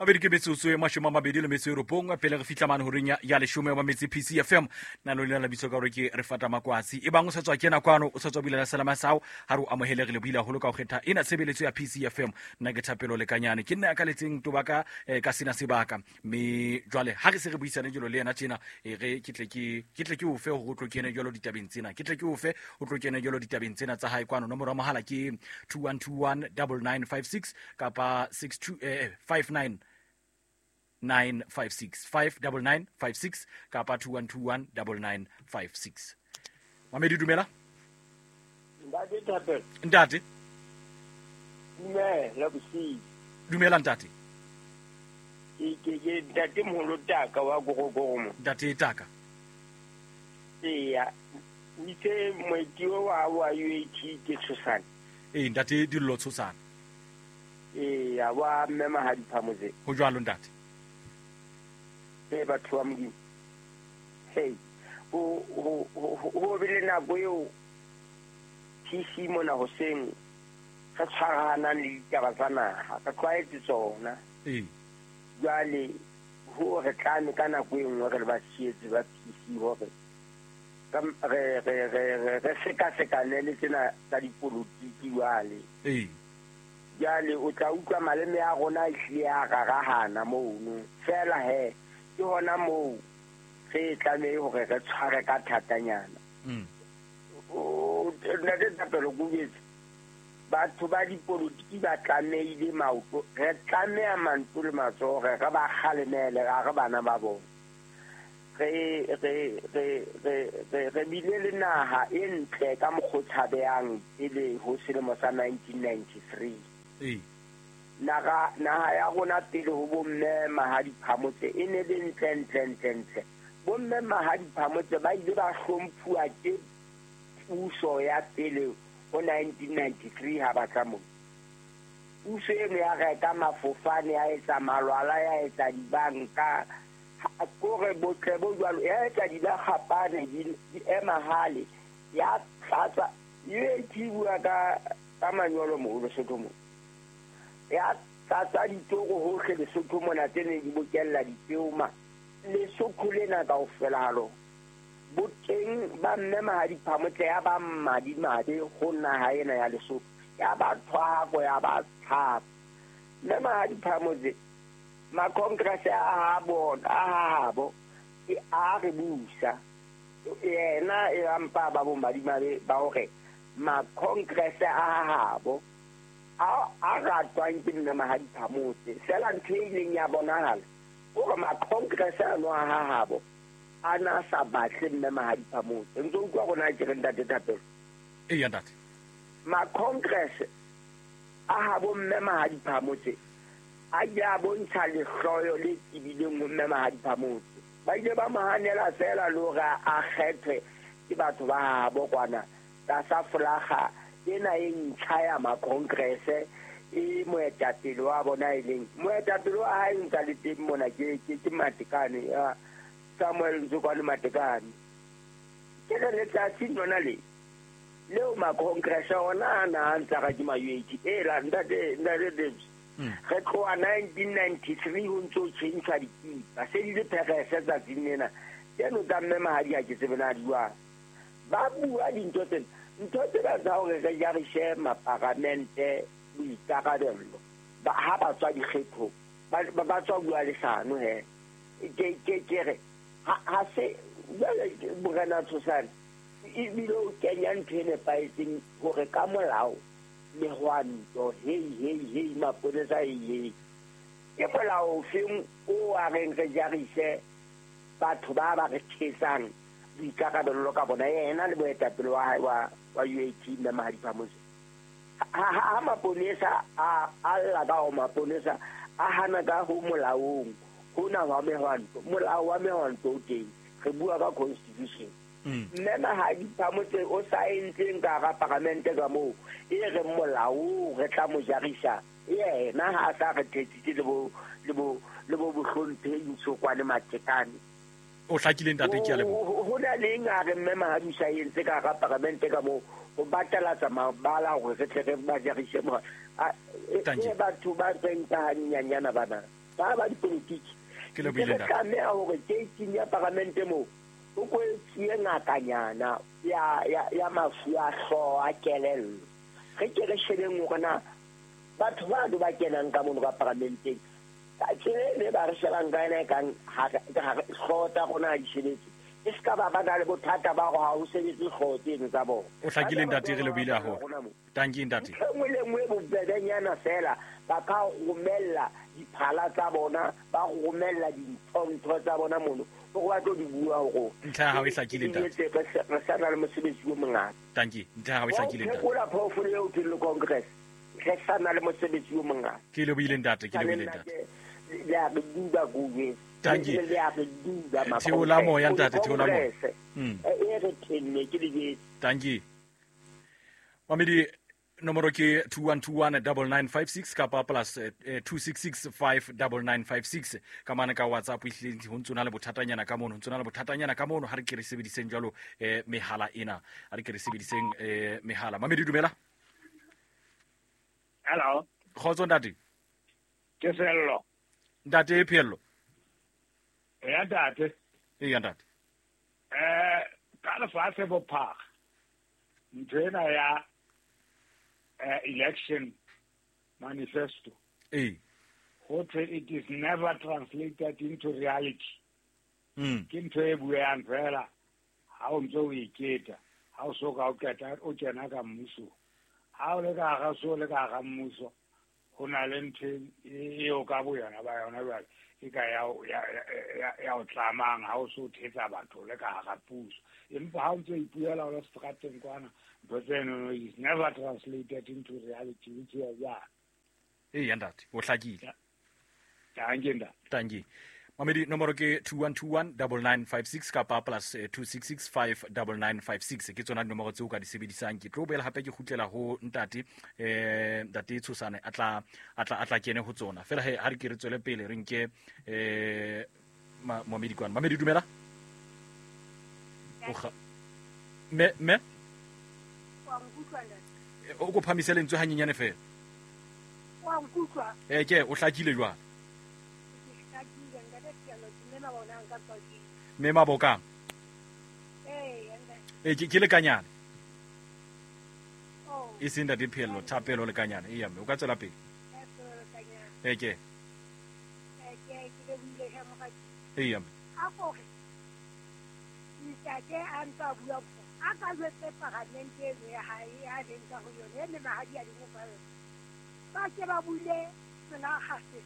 Mabedi ke metsotso e 29 pele re fihla mane horeng ya 10 wa metse PCFM. Nna le lena lebitso ka hore ke re fata makwatsi. E bang o sa tswa kena kwano, o sa tswa bulela selama sa hao, ha re o amohele, re lebohile haholo ka ho kgetha ena tshebeletso ya PCFM. Nna ke Thapelo Lekanyane, ke nna ya kaletseng toba ka sena sebaka. Mme jwale ha re se re buisane jalo le yena tjena, e re ke tle ke ke tle ke o fe hore o tlo kene jalo ditabeng tsena. Ke tle ke o fe o tlo kene jalo ditabeng tsena tsa hae kwano. Nomoro ya mohala ke 2121 9956 kapa 62 59 956 59956 kapa 2121 9956. Mamedi, dumela. Ntate Thapelo. Ntate. Dumela bosiu. Dumela ntate. Ke ntate moholo Taka wa Gorogoro mo. Ntate Taka. Eya. O itse moeti wa UAT ke Tshosane. Ee, ntate Dillo Tshosane. Eya, wa mme Mahadi Phamotse. Ho jwalo ntate. Ee, batho ba Modimo. Hey, ho be le nako eo TC mona hoseng re tshwarahanang le ditaba tsa naha, re tlwaetse tsona. Jwale ho re tlame ka nako e nngwe re le batshehetsi ba PC hore re sekasekane le tsena tsa dipolotiki jwale. Jwale o tla utlwa maleme a rona a hlile a rarahana mono. Feela he, ke hona moo re tlamehe hore re tshware ka thatanyana. Ntate Thapelo Kubetsa, batho ba dipolotiki ba tlamehile maoto, re tlameha manto le matsoho hore re ba kgalemele, ha re bana ba bona. Re bile le naha e ntle ka mokgwa o tshabehang pele ho selemo sa 1993. Naha ya rona pele ho bomme Mahadi Phamotse e ne le ntle, ntle, ntle, ntle. Bomme Mahadi Phamotse ba ile ba hlomphuwa ke puso ya pele ho 1993 ha ba tla mona. Puso eno ya reka mafofane, ya etsa malwala, ya etsa dibanka, kore botle bo jwalo, ya etsa dilakgapane di ema hale, ya tlatsa. UAT bua ka manyolo moo Lesotho moo. Ya tlatsa ditoro hohle Lesotho mona tse neng di bokella dipeo ma. Lesotho lena kaofela ha lona. Boteng ba mme Mahadi Phamotse ya ba madimabe ho naha ena ya Lesotho. Ya ba thwako, ya ba tshaba. Mme Mahadi Phamotse, ma-congress a ha bona, a ha habo, ke a re busa. Yena e ampa ba bo madimabe ba hore ma-congress a ha habo a ratwang ke mme Mahadi Phamotse. Feela ntho e ileng ya bonahala hore ma-congress ano a ha habo a na sa batle mme Mahadi Phamotse. Ntse utlwa rona ke re ntate Thapelo. Eya ntate. Ma-congress a habo mme Mahadi Phamotse a ile a bontsha lehloyo le tebileng ho mme Mahadi Phamotse. Ba ile ba mo hanela feela le hore a kgethwe ke batho ba habo kwana tlasa folaga ena e ntjha ya ma-congress e moetapele wa bona e leng moetapele wa hae ntsa le teng mona ke Matekane, ya Samuel Ntsokwane Matekane. Ke re letsatsi lona le leo ma-congress ona a na a ntsa ga ke ma-UAT. Ela ntate Davis, re tloha 1993 ho ntso tjhentjhwa dikipa, se di le pherese tsatsing lena. Tseno tsa mme Mahadi ha ke tsebe na di jwang. Ba bua dintho tsena, ntho tsena tsa hore re jarise maparamente boikarabello ha ba tswa dikgethong, ba tswa bua leshano he. Ke re ha se jwale Morena Tshosane ebile o kenya ntho e nepahetseng hore ka molao mehwanto, hei hei hei, maponesa hei hei. Ke molao ofeng o a reng re jarise batho ba ba re thetsang boikarabello ka bona, yena le boetapele wa hae wa UAT mme Mahadi Phamotse. Ha maponesa a lla ka ho maponesa a hana ka ho molaong hona wa mehwanto, molao wa mehwanto o teng, re bua ka constitution. Mme Mahadi Phamotse o sa entseng ka hara paramente ka moo e reng molao re tla mo jarisa yena ha a sa re thetsitse le bo bohlomphehi Ntsokwane Matekane. O hlakile ntate, ke a leboha. Ho na le eng a re mme Mahadi o sa entse ka hara paramente ka moo ho batalatsa mabala hore re tle re ba jarise mo. E batho ba reng ka hanyenyana bana. ba dipolotiki. Ke lebohile ntate. Tlameha hore keiting ya paramente moo o kwetsie ngakanyana ya mafu a hlooho a kelello. Re ke re shebeng hore na batho ba do ba kenang ka mono ka paramenteng ka tsela e ba re shebang ka yona e kang ha hlooho tsa rona ha di sebetse. E se ka ba ba na le bothata ba hore ha ho sebetse hlooho tseno tsa bona. O hlakile ntate, re lebohile haholo. Tanki ntate. Ntho e nngwe le nngwe e bobebenyana fela ba ka romella diphala tsa bona, ba romella dintho tsa bona mono hore ba tlo di bua hore ntlha ya hao e hlakile ntate. Re sa na le mosebetsi o mongata. Tanki, ntlha ya hao e hlakile ntate. Phekola phoofolo eo thweng le Congress. Re sa na le mosebetsi o mongata. Ke lebohile ntate, ke lebohile ntate. Le a re duba kuwe. Tanki. Le a re duba ma. Theola moya ntate, theola moya. E re tenne ke le. Tanki. Mamedi, nomoro ke 21219956 kapa plus 266599956 ka mane ka WhatsApp. Ehlile ho ntso na le bothatanyana ka mono, ho ntso na le bothatanyana ka mono. Ha re ke re sebediseng jwalo mehala ena, ha re ke re sebediseng mehala. Mamedi, dumela. Hello. Kgotso ntate. Ke Sello. Ntate Phello. Ya ntate. E ya ntate. Ka lefatshe bophara ntho ena ya election manifesto. It is never translated into reality. Ke ntho e buang fela ha o ntse o iketa, ha o so ka o qeta o kena ka mmuso. Ha o le ka hara so le ka hara mmuso, ho na le ntho eo ka bo yona ba yona jwale e ka ya o tlamang ha o so thetsa batho le ka hara puso. Empa ha o ntse o ipuela o le strateng kwana, ntho tseno is never translated into reality, which is ya. Eya ntate, o hlakile. Tanki ntate. Tanki. Mamedi, nomoro ke 21219956 kapa plus 266599956. Ke tsona dinomoro tseo ka di sebedisang. Ke tlo boela hape ke kgutlela ho ntate, ntate Tshosane a tla kene ho tsona. Fela he ha re ke re tswele pele re nke Mamedi kwana. Mamedi, dumela. Me o ko phamise lentswe hanyenyane fela. Wa nkutlwa. Ke o hlakile jwang? Mme Mabokang. Ke lekanyana. E seng ntate Phello, Thapelo lekanyana. Eya mme, o ka tswela pele. Ke. Eya mme. A kore ntate a ntsa bua a ka jwetse paramente eno ya hae a leng ka ho yone e mahadi a leng ka yone. Ba ke ba bule selakgase.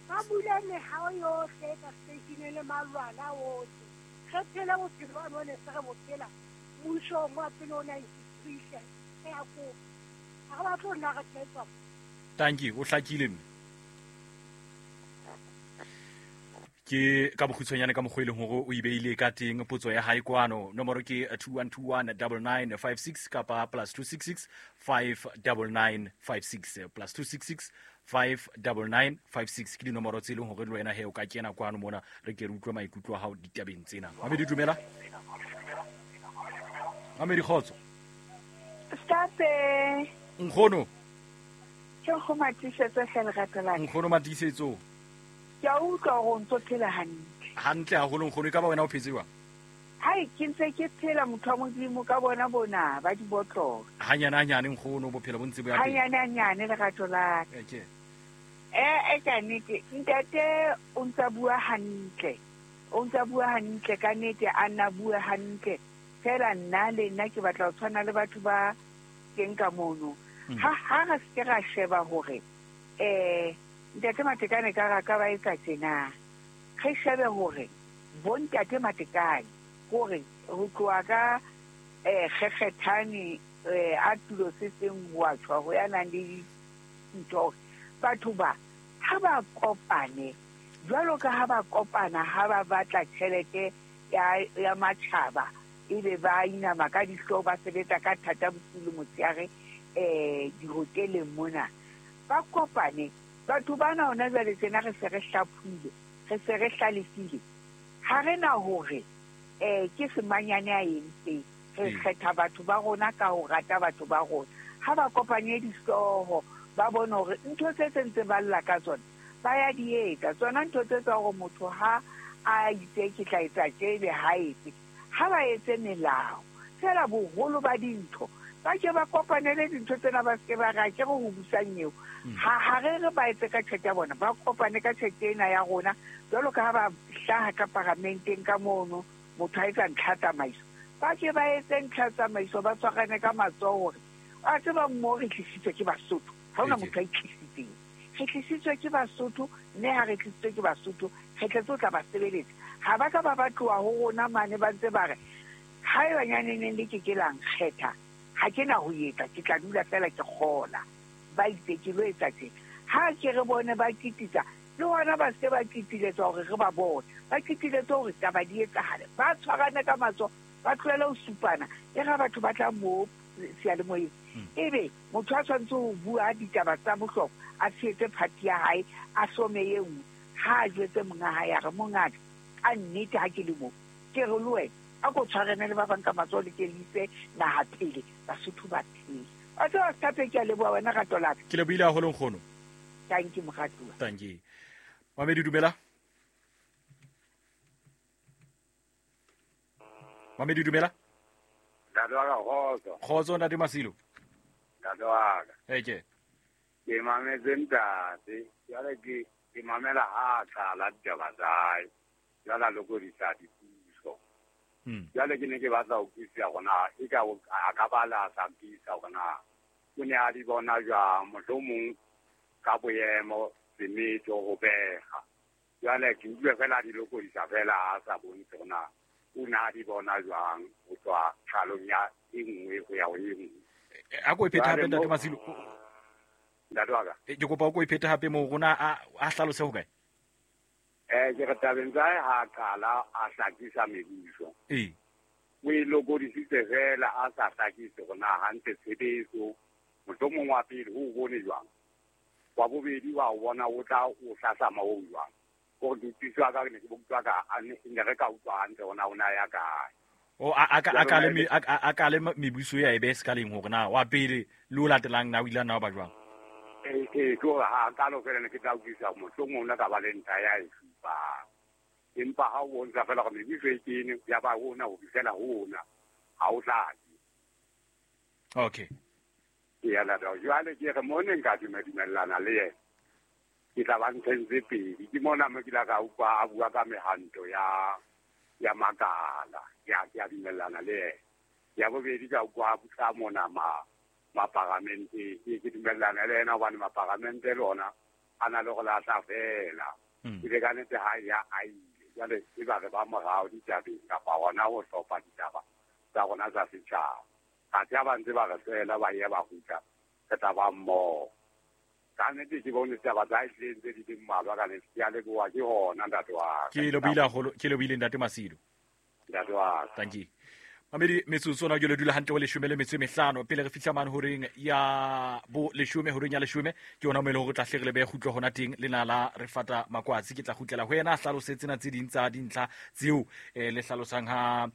Ba bule mehao yohle ka seteisheneng le malwala ohle. Re phele bophelo ba bone se re bo phela mmusong wa pele o 93 e a kopa. Ha re batle ho nna re thetswa. Tanki, o hlakile mme. Ke ka bokgutshwanyane ka mokgwa e leng hore o ibeile ka teng potso ya hae kwano. Nomoro ke 21219956 kapa plus 266599956 plus 266599956 ke dinomoro tse leng hore le wena he o ka kena kwano mona re ke re utlwe maikutlo a hao ditabeng tsena. Mamedi, dumela. Mamedi, kgotso. State. Nkgono. Ke go matisetso hle lerato la ka. Nkgono matisetso. Ke a utlwa hore o ntso phela hantle. Hantle haholo nkgono, e ka ba wena o phetse jwang? Hai, ke ntse ke phela motho wa Modimo ka bona bona ba dibotlolo. Hanyane hanyane nkgono, bophelo bo ntse bo ya pele. Hanyane hanyane lerato la ka. Ke. Ka nnete ntate o ntsa bua hantle. O ntsa bua hantle ka nnete, a nna bua hantle. Fela nna le nna ke batla ho tshwana le batho ba teng ka mono. Ha re se ra sheba hore ntate Matekane ka ra ka ba etsa tjena. Re shebe hore bo ntate Matekane hore ho tloha ka kgekgethane a tulo se seng ho a tshwa ho ya nang le dintho. Batho ba ha ba kopane jwalo ka ha ba kopana ha ba batla tjhelete ya matjhaba ebe ba inama ka dihlooho ba sebetsa ka thata bosiu le motshehare dihoteleng mona. Ba kopane batho bana hona jwale tsena re se re hlaphuile, re se re hlalefile. Ha re na hore ke semanyane a entseng. Re kgetha batho ba rona ka ho rata batho ba rona. Ha ba kopanye dihlooho ba bone hore ntho tse ntse ba lla ka tsona Ba ya di etsa tsona ntho tse tsa hore motho ha a itse ke tla etsa tje ebe ha etse. Ha ba etse melao. Feela boholo ba dintho ba ke ba kopanele dintho tsena, ba seke ba re a ke re ho busang eo. Ha re re ba etse ka tjhelete ya bona, ba kopane ka tjhelete ena ya rona jwalo ka ha ba hlaha ka paramenteng ka mono, motho a etsa ntlha tsamaiso. Ba ke ba etse ntlha tsamaiso, ba tshwarane ka matsoho hore a tseba mo re tlisitswe ke Basotho. Ha hona motho a itlisitseng. Re tlisitswe ke Basotho, mme ha re tlisitswe ke Basotho, re tletse ho tla ba sebeletsa. Ha ba ka ba ba tloha ho rona mane ba ntse ba re haeba nyaneneng le ke ke la nkgetha, ha ke na ho etsa, ke tla dula feela ke kgola. Ba itse ke lo etsa tjena. Ha ke re bone ba kititsa, le hona ba se ba kitiletswa hore re ba bone. Ba kitiletswe hore taba di etsahale. Ba tshwarane ka matsoho, ba tlohele ho supana. E ra batho ba tla mo seyalemoyeng. Ebe motho a tshwanetse ho bua ditaba tsa bohlokwa, a tshehetse party ya hae, a hlome e nngwe. Ha a jwetse monga hae, a re mongaka, ka nnete ha ke le mo, ke re le wena, a ko tshwarane le ba bang ka matsoho le ke le ise naha pele, Basotho ba phele. Wa tseba Sethape, ke a leboha wena rato la ka. Ke lebohile haholo nkgono. Thank you moratuwa. Thank you. Mamedi dumela. Mamedi dumela. Ntate wa ka kgotso. Kgotso ntate Masilo. Ntate wa ka. Eke. Ke mametse ntate, jwale ke mamela ha a qala ditaba tsa hae. Jwale a lokodisa dipuso. Jwale ke ne ke batla ho utlwisisa hore na e ka a ka ba la sa mpisa hore na o ne a di bona jwang, mohlomong ka boemo, semetso, ho beha. Jwale ke utlwe fela a di lokodisa fela a sa bontshe hore na o ne a di bona jwang ho tswa qalong ya e nngwe ho ya ho e nngwe. A ko e phethe hape ntate Masilo. Ntate wa ka. Ke kopa o ko e phethe hape moo rona a hlalose ho kae? Ke re tabeng tsa hae ha a qala a hlakisa mebuso. O e lokodisitse fela a sa hlakise hore na hantle tshebetso, mohlomong wa pele ho o bone jwang, wa bobedi wa o bona o tla o hlahlama o jwang. Hore ke utlwiswa ka ne ke utlwa ka ne re ka utlwa hantle hore na o na ya kae. O a kale mebuso ya ebe sekaleng hore na wa pele le o latelang na o ile na ba jwang. Ke hore ha kalo fela ne ke tla utlwisisa mohlomong o na ka ba le ntlha ya e supang. Empa ha o bontsha fela hore mebuso e kene ya ba hona ho fihlela hona, ha o hlake. Okay. Ke ya lata jwale ke re mo ne nka dumellana le yena. Ke tla ba ntlheng tse pedi. Ke mona mo ke la ka utlwa a bua ka mehanto ya makala. Ke a dumellana le yena. Ya bobedi ka utlwa a bua mona maparamente. Ke dumellana le yena hobane maparamente le ona a na le go lahla fela. Ke le ka nnete ha ya a ile. Jwale e ba re ba morao ditabeng kapa hona ho hlopha ditaba tsa rona tsa setjhaba. Athe ha ba ntse ba re fela ba ye ba kgutla, re tla ba mmoho. Ka nnete ke bone ditaba tsa hae hlileng tse di leng mmalwa ka nnete. Ke a leboha ke hona ntate wa ka. Ke lebohile haholo, ke lebohile ntate Masilo. Ntate wa ka. Thank you. Mamedi metsotso ona jwale dula hantle ho 15 pele re fihla mane horeng ya bo 10 horeng ya 10 ke yona mo e leng hore tla hle re le behe kgutlo hona teng le na la re fata makwatsi. Ke tla kgutlela ho yena a hlalose tsena tse ding tsa dintlha tseo le hlalosang ha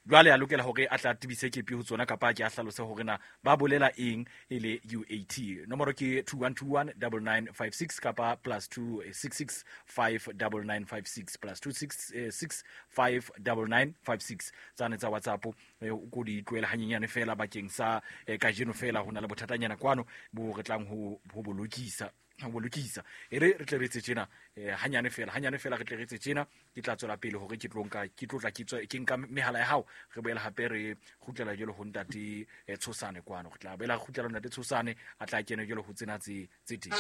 jwale a lokela hore a tla tebise kepi ho tsona kapa ke a hlalose hore na ba bolela eng e le UAT. Nomoro ke 2121 9956 kapa +266 59956 +266 59956 tsane tsa WhatsApp o ko di tlohele hanyenyane fela bakeng sa kajeno fela ho na le bothatanyana kwano bo re tlang ho bolokisa. Ho bolokisa. E re re tle re etse tjena, hanyane fela re tle re etse tjena. Ke tla tswela pele hore ke tlo nka, ke tlo tla ke tswe, ke nka mehala ya hao. Re boela hape re kgutlela jwalo ho ntate Tshosane kwano. Re tla boela re kgutlela ho ntate Tshosane, a tla kena jwalo ho tsena tse teng.